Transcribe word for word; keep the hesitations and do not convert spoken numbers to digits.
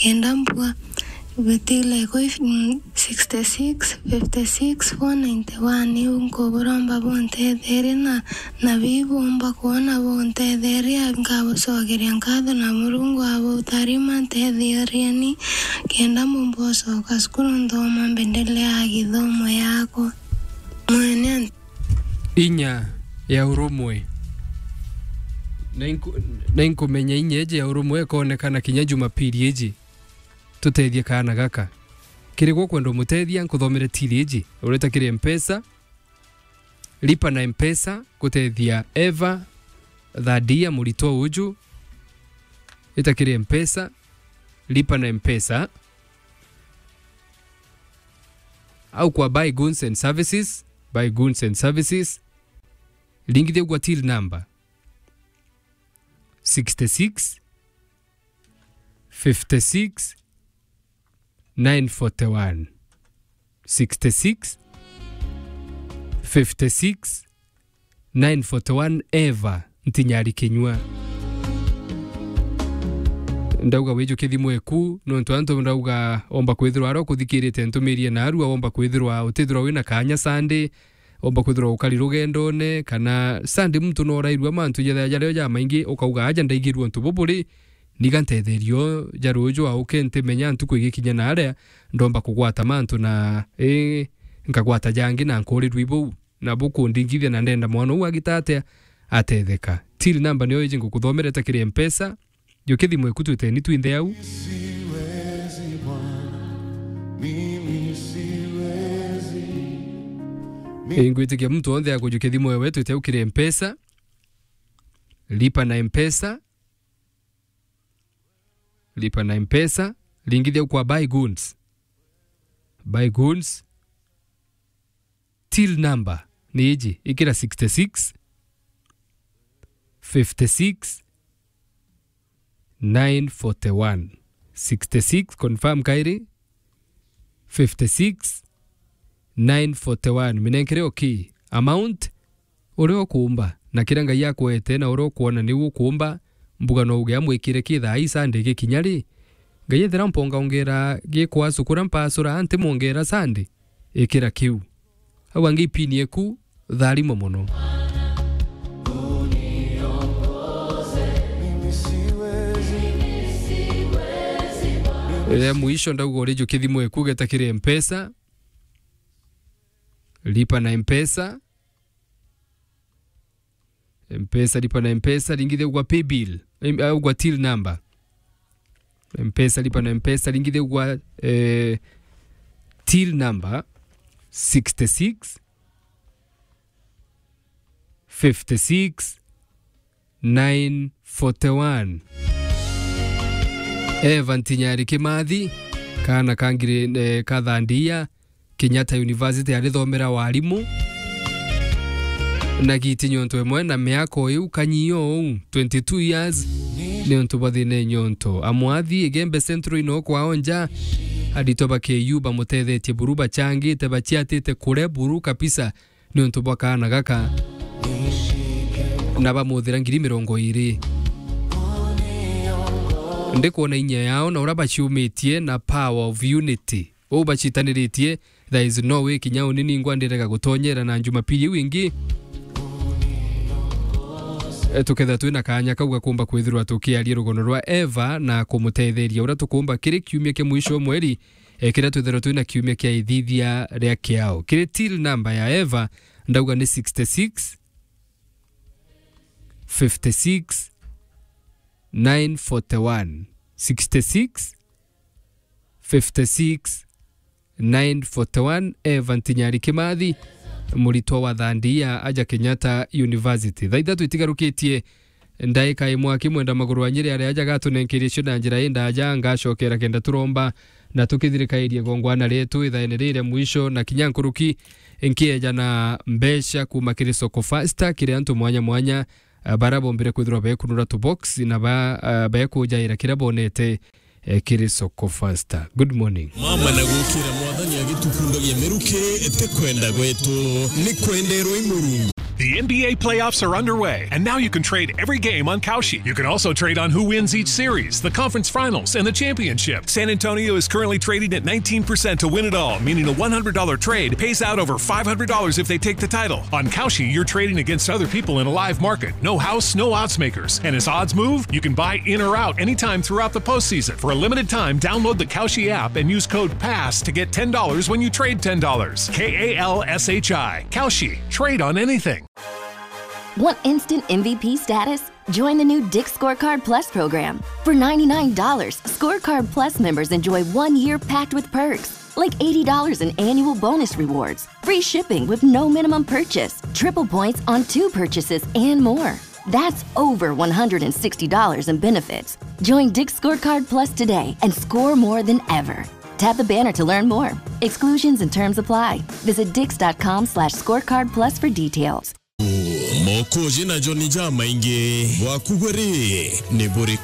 Kenda mbua, bitile kwi, mm, sixty six, fifty six, four ninety one. Iu nkuburomba buntetherie na, na bibu umba kwona buntetheria, nkabucokeria nkatho na Murungu abutarima ntetherie ni kenda mbumba ucoka cukuru nthoma mbendele ya githomo yakwa. Mwene. Inya ya urumwe. Na inku-, na inkumenya inya iji ya urumwe ikonekana kinya Jumapili iji. Tutethie kaana gaka. Kiri gwe ukwenda umutethia, nkuthomere tili iji. Ureta kiri Mpesa, lipa na Mpesa, gutethia Eva, Thadia, muritwa uju. Ita kiri Mpesa, lipa na Mpesa. Au kwa Buy Goods and Services, Buy Goods and Services. Ringithia gwa till number sixty six, fifty six, nine forty one. Sixty six, fifty six, nine forty one, Eva Ntinyari Kinyua. Ndauga wijukie thimu eku, nontu antu ndauga omba kwithirwa aria ukuthikirite ntumirie narua, omba kwithirwa utithirwa wina kanya Sunday, omba kwithirwa ukari rugendone, kana Sunday muntu no urairua mantu jethea jario jamaingi, ukauga, "Aja ndaigirua untu buburi, niga ntetherio ja ruju auke ntimenya ntuku igikinya naria, ndomba kugwata mantu na, ii, nkagwata jangi na nkurirua ibuu." Na bukundingithia na ndenda mwana uu agita atia atetheka. Till number niyo iji ngukuthomera ita kiri Mpesa. Jukia thimu eku twiteni twinthe au. Ingwitikia muntu wonthe akujukia thimu ewe twite au kiri Mpesa. Lipa na Mpesa. Lipa na Mpesa. Ringithia kwa Buy Goods. Buy Goods. Till number ni iji, ikira sixty six, fifty six, nine forty one. Sixty six, confirm kairi, fifty six, nine forty one. Minenkere okay. Amount, uria ukuumba, na kiria Ngai akwete, na uria ukwona niu ukuumba, mbuga no uge amwikire ki thaa ii Sunday gikinya ri? Ngai ethira mponga ongera gikwasu kuria mpasura, anti mwongera Sunday, ikira kiu. Au angi ipini eku, tharimo mono. Ria mwisho ndauga urijukie thimu eku geta kiri Mpesa. Lipa na Mpesa. Mpesa, lipa na Mpesa, ringithia gwa paybill, em, au gwa till number. Mpesa, lipa na Mpesa, ringithia gwa, eh, till number sixty six, fifty six, nine forty one. Eva Ntinyari Kimathi, kaana ka ngiri, eh, ka thandia, Kenyatta University arithomera warimu. Na giti nyonto imwe na miaka o iu, kanyio uu, twenty two years, ni untu bwa thina nyonto. Amwathi, Igembe Central ino kwao nja, aritwa ba K U bamutethetie buru, bachangite, bachiatite kure buru kabisa, ni untu bwa kaana gaka. Na bamuthira ngiri mirongo iri. Ndikwona inya yao na uria baciumitie na power of unity. Uu bacitaniritie, there is no way kinya uni ningwa ndirega gutonyera na Jumapili iu ingi. E, tukethira twina kaanya kau ga kumba kwithirwa tukiaria rugono rwa Eva na kumutetheria uria tukumba kiri kiumia kia mwisho o mweri, e, kiria twithirwa twina kiumia kia ithithia ria kiao. Kiri till number ya Eva, ndauga ni sixty six, fifty six, nine forty one. Sixty six, fifty six, nine forty one, Eva Ntinyari Kimathi, muritwa wa thandia aja Kenyatta University. Thaa ithatu itigarukitie ndaika imwe, akimwenda maguru wa Nyeri aria aja gatunenkerie cio na njira indaja, ngacokera kenda turomba na tukithirikairie gongwana rietu ithaene riri ria mwisho, na kinya nkuruki nkieja na mbeca kuma kiri Soko Fasta kiri antu mwanya mwanya, a, bara bombire kwithirwa bekunura tubox na ba, a, bekujaira kiria bonete, e, kiri Soko Fasta. Good morning. Mama na gukira Mwathani agitukundagia miruki, ti kwenda gwetu, ni kwenderwa i Murungu. The N B A playoffs are underway, and now you can trade every game on Kalshi. You can also trade on who wins each series, the conference finals, and the championship. San Antonio is currently trading at nineteen percent to win it all, meaning a one hundred dollar trade pays out over five hundred dollars if they take the title. On Kalshi, you're trading against other people in a live market. No house, no odds makers. And as odds move, you can buy in or out anytime throughout the postseason. For a limited time, download the Kalshi app and use code pass to get ten dollars when you trade ten dollars. K A L S H I. Kalshi. Trade on anything. Want instant M V P status? Join the new Dick's Scorecard Plus program. For ninety-nine dollars, Scorecard Plus members enjoy one year packed with perks, like eighty dollars in annual bonus rewards, free shipping with no minimum purchase, triple points on two purchases, and more. That's over one hundred sixty dollars in benefits. Join Dick's Scorecard Plus today and score more than ever. Tap the banner to learn more. Exclusions and terms apply. Visit dicks.com slash scorecard plus for details. Mokoji na Johnny jamaingi bwaku buri ni buriku?